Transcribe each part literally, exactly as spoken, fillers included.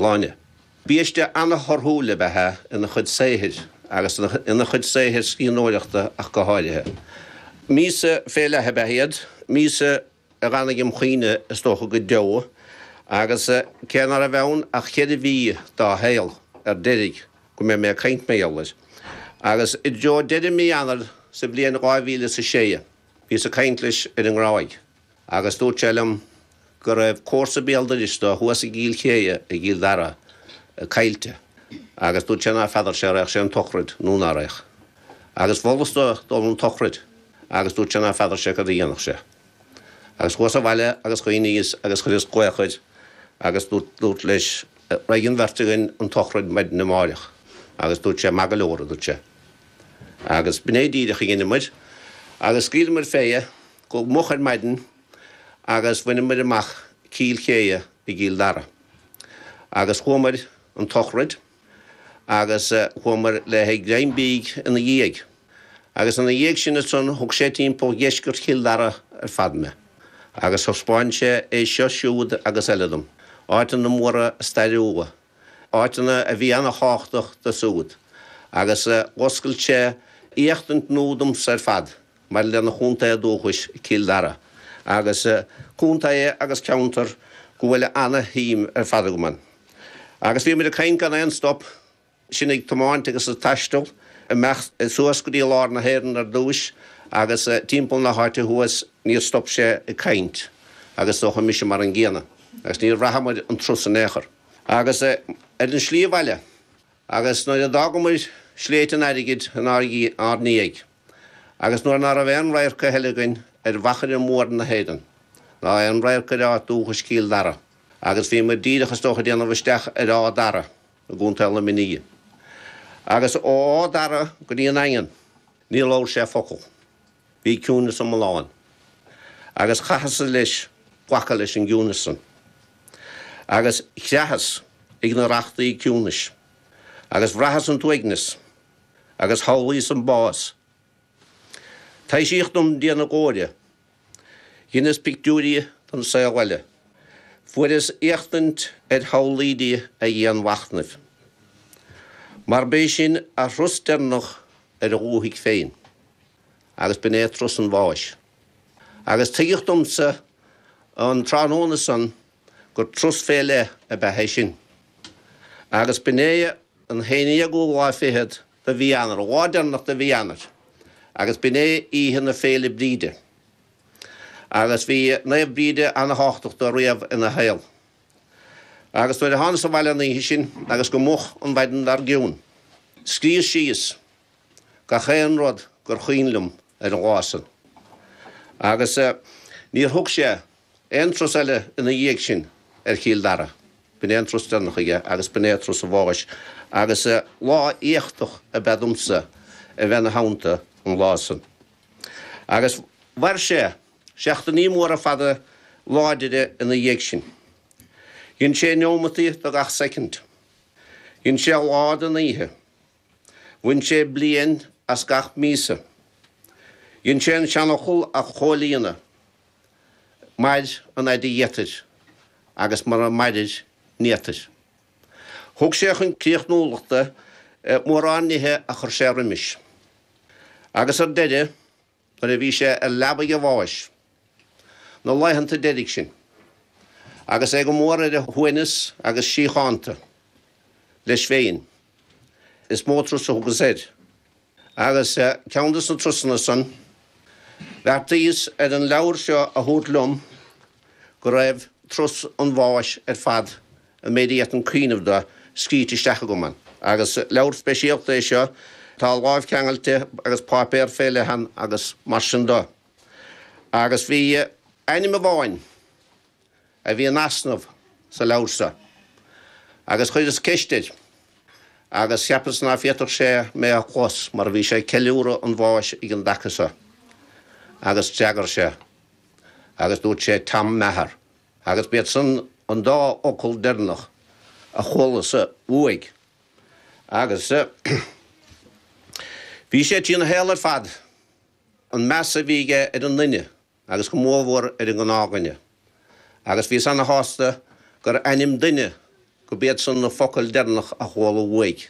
Shláine. Biaiste an-thorthúil ab ea é ina chuid saothair agus ina chuid saothair scríbhneoireachta ach go háirithe. Míosa fé leith ab ea iad, míosa a fhanfaidh im chuimhne is dócha go deo, agus cé ná raibh ann ach ceithre mhí dá shaol ar deiridh go mbeidh mé ag caint mar gheall air. Agus i dtreo deireadh mí Eanáir sa bhliain dhá mhíle is a sé, bhíos ag caint leis ar an nGráig agus dúirt sé liom go raibh comharsa béal dorais dó thuas i gCill Chéidhe i gCill Dara caillte agus dúirt sé ná feadar sé raghadh sé an tsochraid nó ná raghadh. Agus mholas dó dul an tsochraid agus dúirt sé ná feadar sé cad a dhéanfadh sé. Agus chuas abhaile agus chuimhníos agus chuireas glaoch air agus dúrt leis raghaidh an bheirt againn an tsochraid maidin amáireach agus dúirt sé maith go leor a dúirt sé. Agus b'in é díreach a dheineamair agus scaoileamair fé go moch ar maidin agus bhaineamair amach Cill Chéidhe i gCill Dara. Agus chuamair an tsochraid agus chuamair le haghaidh greim bídh ina dhiaidh. Agus ina dhiaidh sin ansan thug sé timpeall dheisceart Chill Dara ar fad mé. Agus thaispeáin sé é seo siúd agus eile dom, áiteanna móra stairiúla, áiteanna a bhí ana-thábhachtach do siúd. Agus dh'oscail sé éachtaint nua domsa ar fad maidir lena chontae dúchais, Cill Dara. Agus contae agus ceantar go bhfuil ana-shuim ar fad agam ann. Agus bhí muid ag caint gan aon stop, sinn ag tiomáint agus ag taisteal, amach suas go dtí lár na hÉireann ar dtúis agus timpeall na háite thuas, níor stop sé ag caint agus is dócha mise mar an gcéanna agus níor bhraitheamair an turas in aon chor. Agus ar an slí abhaile agus nuair a d'fhágamair Sléibhte an Airgid inár ndiaidh agus nuair ná raibh aon radharc a thuilleadh againn ar mhachaire mór na hÉireann, ná aon radharc ar áit dúchais Chill Dara, agus bhí muid díreach is dócha ag déanamh isteach ar Áth Dara i gContae Luimnigh. Agus ó Áth Dara go dtí an Daingean, níor labhair sé focal. Bhí ciúnas iomlán. Agus chaitheas-sa leis glacadh leis an gciúnas san. Agus chreathas ag na rachtaí ciúnais. Agus bhraitheas an t-uaigneas. Agus shamhlaíos an bás. Taibhsíodh dom Dia na Glóire. Dheineas pictiúirí den saol eile. Fuaireas éachtaint ar shamhlaoidí a dhianmhachnaimh. Mar b'é sin a thuras deireanach ar a dhúthaigh féin. Agus b'in é turas an bháis. Agus tuigeadh domsa an tráthnóna san gur turas fé leith ab ea é sin. Agus b'in é an haon déagú lá fichead de mhí Eanáir, an lá deireanach de mhí Eanáir, agus b'in é oíche na Féile Bríde. Agus bhí Naomh Bríde ana-thábhachtach dó riamh ina shaol. Agus nuair a thánas abhaile an oíche sin agus go moch an mhaidin dár gcionn, scríos síos gach aon rud gur chuimhin liom ar an lá san. Agus níor thug sé aon turas eile ina dhiaidh sin ar Chill Dara. B'in é an turas deireanach aige agus b'in é turas a bháis agus lá éachtach ab ea domsa a bheith ina theannta an lá san. Agus mhair sé seachtainí móra fada láidire ina dhiaidh sin. Dhein sé neomataí de gach soicind. Dhein sé lá den oíche. Bhain sé bliain as gach míosa. Dhein sé an seanfhocal a chomhlíonadh, Mair an fhaid a d'fhéadfair agus mura mairir ní fhéadfair. Thug sé chun críochnúlachta mórán nithe a chuir sé roimis. Agus ar deireadh, nuair a bhí sé ar leabaidh a bháis, na laethanta deiridh sin, agus é go mór ar a shuaimhneas agus síochánta leis féin, is mó turas a thugas air. Agus ceann de na turasanna san, bheartaíos ar an leabhar seo a thabhairt liom go raibh turas an bháis ar fad, an méid a d'fhéadfainn cuimhneamh de, scríte isteach agam ann. Agus leabhar speisialta é seo, tá lámhcheangailte agus páipéar fé leith ann agus mar sin de. Agus bhí ainm amháin a bhí in easnamh sa leabhar seo agus chuireas ceist air agus cheapas ná féadfadh sé mé a chlos mar bhí sé ag ceiliúradh an bháis ag an dtaca seo agus d'fhreagair sé agus dúirt sé Tom Maher agus b'iad san an dá fhocal deireanach a chualas-sa uaidh agus bhí sé trína shaol ar fad an meas a bhí aige ar an nduine agus go mórmhór ar an ngnáthdhuine agus bhíos ana-shásta gur ainm duine go b'iad san na focail deireanach a chuala uaidh.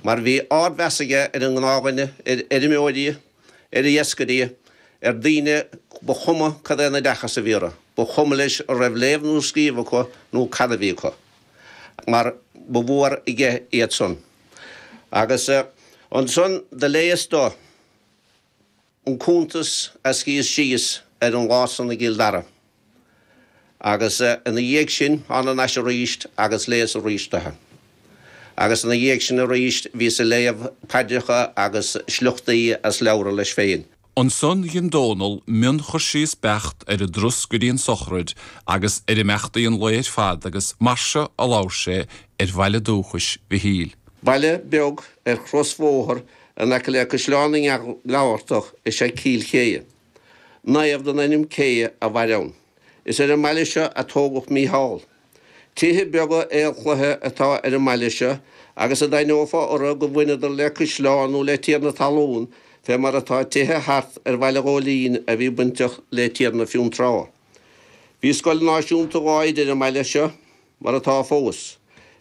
Mar bhí ardmheas aige ar an ngnáthdhuine, ar fheirmeoirí, ar iascairí, ar daoine ba chuma cad é an oideachas a bhí orthu, ba chuma leis an raibh léamh nó scríobh acu nó cad a bhí acu. Mar ba mhór aige iad san. Agus ansan do léas dó an cuntas a scríos síos ar an lá san i gCill Dara. Agus ina dhiaidh sin thána thar n-ais arís agus léas arís dó. Agus ina dhiaidh sin arís bhíos ag léamh paidreacha agus sliochtaí as leabhra leis féin. Ansan dhein Dónal mionchur síos beacht ar an dturas go dtí an sochraid agus ar imeachtaí an lae ar fad agus mar seo a labhair sé ar bhaile dúchais Mhichíl. Baile beag ar chrosbhóthar in aice le Caisleán na nGabhartach is ea Cill Chéidhe. Naomh den ainm Céidhe a mhair ann. Is ar an mbaile seo a tógadh Mícheál. Tithe beaga aolchloiche atá ar an mbaile seo agus a d'aithneofá orthu go bhaineadar le caisleán nó le tiarna talún fé mar atá tithe thart ar Bhaile Ghóilín a bhí bainteach le Tiarna Fionntrá. Bhí scoil náisiúnta dhá oide ar an mbaile seo, mar atá fós.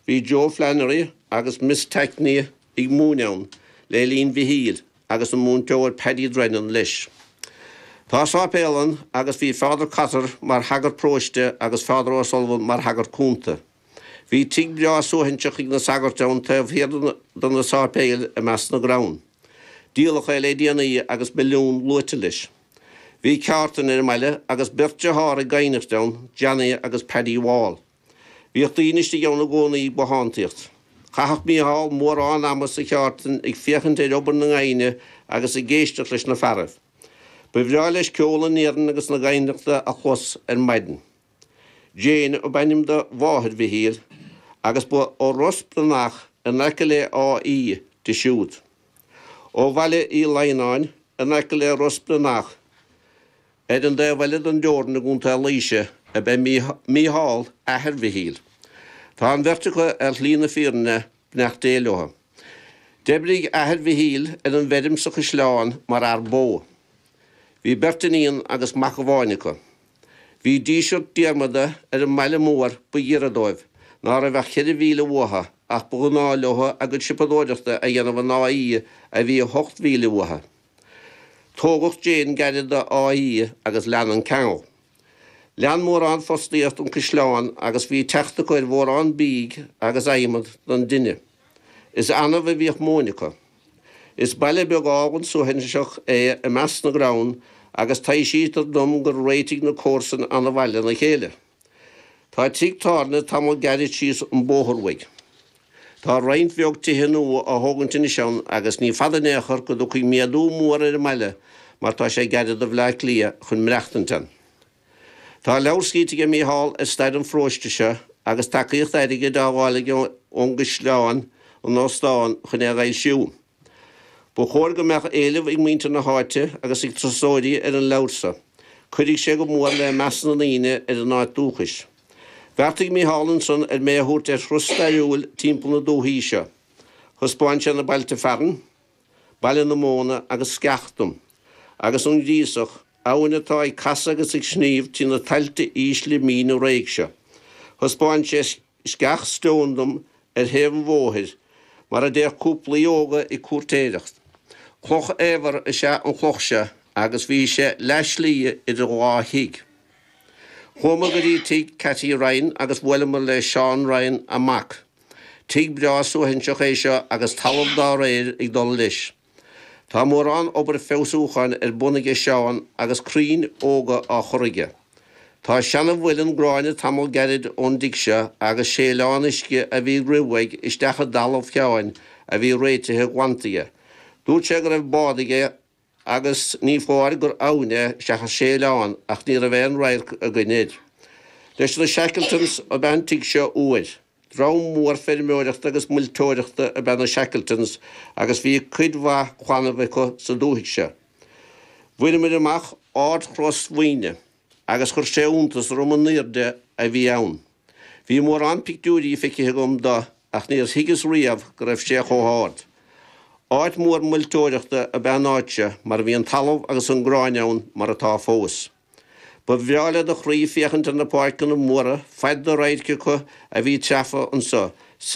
Bhí Joe Flannery agus Miss Tackney ag múineadh ann le linn Mhichíl agus an múinteoir Paddy Drennan leis. Tá sáipéal ann agus bhí Father Cotter mar shagart paróiste agus Father O'Sullivan mar shagart cúnta. Bhí tigh breá suaithinseach ag na sagairt ann taobh thiar de na sáipéil i measc na gcrann. Díoladh é le déanaí agus milliún luaite leis. Bhí ceártan ar an mbaile agus beirt dearthár ag gaibhneacht ann, Johnny agus Paddy Wall. Bhíodh daoine istigh ann i gcónaí ag bothántaíocht. Chaitheadh Mícheál mórán ama sa cheártan ag féachaint ar obair na ngaibhne agus ag éisteacht leis na fearaibh. Ba bhreá leis ceol na n-iarainn agus na gaibhneachta a chlos ar maidin. Jane ab ainm do mháthair Mhichíl agus ba ó Ros Brionach in aice le Áth Í di siúd. Ó Bhaile Uí Lionnáin in aice le Ros Brionach ar an dtaobh eile den dteorainn i gContae Laoise ab ea Mícheál, athair Mhichíl. Tá an bheirt acu ar shlí na fírinne, beannacht Dé leo. D'oibrigh athair Mhichíl ar an bhfeirm sa Chaisleán mar fhear bó. Bhí beirt iníon agus mac amháin acu. Bhí Díseart Diarmada ar an mbaile mór ba ghiorra dóibh, ná raibh ach ceithre mhíle uathu, ach ba ghnáth leo a gcuid siopadóireachta a dhéanamh in Áth Í a bhí ocht mhíle uathu. Tógadh Jane gairid d'Áth Í agus lean an ceangal. Lean mórán fostaíocht an Caisleán agus bhí teacht acu ar mhórán bídh agus adhmad don dtine. Is annamh a bhíodh móin acu. Is baile beag álainn suaithinseach é i measc na gcrann agus taibhsítear dom gur réitigh na comharsain an-mhaith lena chéile. Tá tigh tábhairne tamall gairid síos an bóthar uaidh. Tá roinnt bheag tithe nua á thógaint anois ann agus ní fada in aon chor go dtiocfaidh méadú mór ar an mbaile mar tá sé gairid do Bhleá Cliath chun maireachtaint ann. Tá leabhar scríte aige Mícheál ar stair an pharóiste seo agus tacaíocht airgid á fháil aige ón gCaisleán, an óstán, chun é a fhoilsiú. Ba chóir go mbeadh éileamh ag muintir na háite agus ag turasóirí ar an leabhar seo. Cuirfidh sé go mór le meas na ndaoine ar a n-áit dúchais. Bheartaigh Mícheál ansan ar mé a thabhairt ar thuras stairiúil timpeall na dúthaí seo. Thaispeáin sé na bailte fearainn, Baile na Móna agus Sceach dom, agus an Ghríosach, abhainn atá ag casadh agus ag sníomh trí na tailte ísle míne réidh seo. Thaispeáin sé Sceach Stone dom ar thaobh an bhóthair, mar a dtéadh cúplaí óga ag cúirtéireacht. Cloch fhaobhair is ea an chloch seo agus bhí sé leath slí idir dhá thigh. Chuamar go dtí tigh Cathy Ryan agus bhuaileamar le Seán Ryan, a mac. Tigh breá suaithinseach é seo agus talamh dá réir ag dul leis. Tá mórán obair feabhsúcháin ar bun aige Seán agus crainn óga á chur aige. Tá seana-mhuileann gráinne tamall gairid ón dtigh seo agus séileán uisce a bhí ag rith uaidh isteach i dtalamh Sheáin a bhí réitithe glanta aige. Dúirt sé go raibh bád aige agus ní foláir gur abhainn é seachas séileán ach ní raibh aon radharc againn air. Leis na Shackletons ab ea an tigh seo uair. Dream mór feirmeoireachta agus muilteoireachta ab ea na Shackletons agus bhí cuid mhaith clannamh acu sa dúthaigh seo. Bhaineamair amach Ard-Chros Mhuine. agus chuir sé iontas orm an airde a bhí ann. Bhí mórán pictiúirí feicthe agam de ach níor thuigeas riamh go raibh sé chomh hard. Áit mhór muilteoireachta ab ea an áit seo mar bhí an talamh agus an gráin ann mar atá fós. Ba bhreá le do chroí féachaint ar na páirceanna móra, fad na radhairc acu a bhí treafa anso.